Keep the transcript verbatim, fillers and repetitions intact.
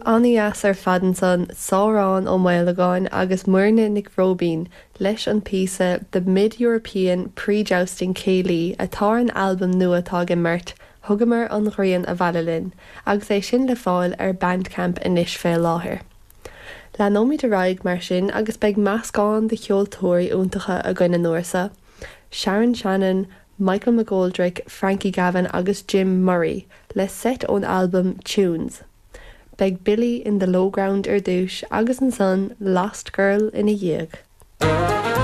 An-deas ar fad ansan Sárán Ó Maolagáin agus Muirne Nic Róibín leis an píosa The Mid-European Pre-Jousting Céilí atá ar an albam nua atá ag an mbeirt, Thugamar an ghrian abhaile linn, agus é sin le fáil ar Bandcamp anois fé láthair. Leanfaimid ar aghaidh mar sin agus beidh meascán de cheoltóirí iontacha againn an uair seo. Sharon Shannon, Michael McGoldrick, Frankie Gavin agus Jim Murray le seit ón albam Tunes. Beidh Billy in the Lowground ar dtús agus ansan Lost Girl ina dhiaidh.